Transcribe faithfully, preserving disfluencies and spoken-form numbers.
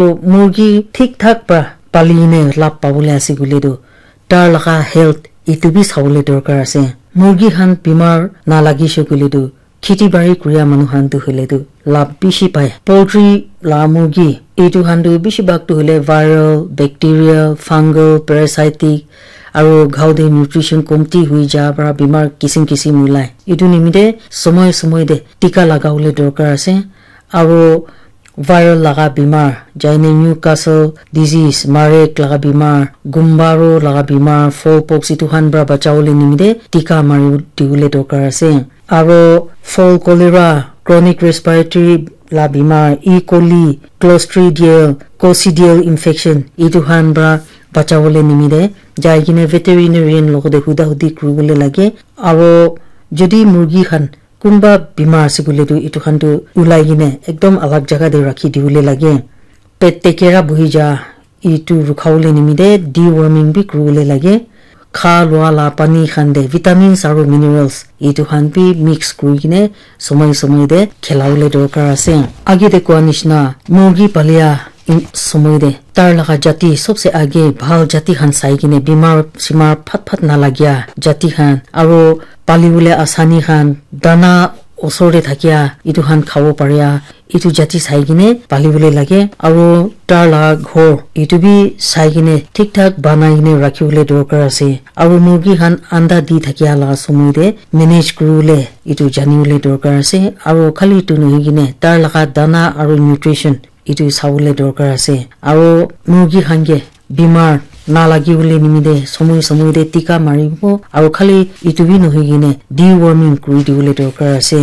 Murgi thik thak pra pali ne lab pabole ase koile tu, tar laga health etu bi sabole dorkar ase. Murgi khan bimar nalagise koile tu, kheti bari kuria manu khan tu hoile tu lab bishi pai. Poultry la murgi etu khan tu bishi bhag tu hoile viral, bacterial, fungal, parasitic, aro ghau te nutrition komti hui ja para bimar kisim kisim ulai. Etu nimite somoi somoi te tika lagabole dorkar ase. Aro viral laga bimar, jaine Newcastle disease, marek laga bimar, gumbaro laga bimar, fowl pox, etu khan para bachabole nimite tika mari dibole dorkar ase. Aro fowl cholera, chronic respiratory la bimar, E. coli, clostridial, coccidial infection, etu khan para bachabole nimite jai kene veterinarian logote huda hudi kuribole lage. Aro jodi murgi khan kunba bimar ase koile tu etu khan tu ulai kene ekdom alag jaga te rakhi dibole lage. Pet te kera buhi ja etu rukhabole nimite deworming bi kuribole lage. Kha lua la pani khan te vitamins aro minerals etu khan bi mix kuri kene somoi somoi te khilabole dorkar ase. Age te koa nishina murgi palia in-, somoi te tar laga jati sobse age bhal jati khan sai kene bimar simar phat phat nalagia jati khan aro palibole asani khan dana osor te thakia etu khan khabo paria etu jati sai kene palibole lage aro tar laga ghor etu bi sai kene thik thak banai kene rakhibole dorkar ase aro murgi khan anda di thakia laga somoi te manage kuribole etu janibole dorkar ase aro khali etu nohoi kene tar laga dana aro nutrition etu sabole dorkar ase aro murgi khan ke bimar nalagibole nimite somoi somoi te tika maribo aro khali etu bi nohoi kene deworming kuri dibole dorkar ase.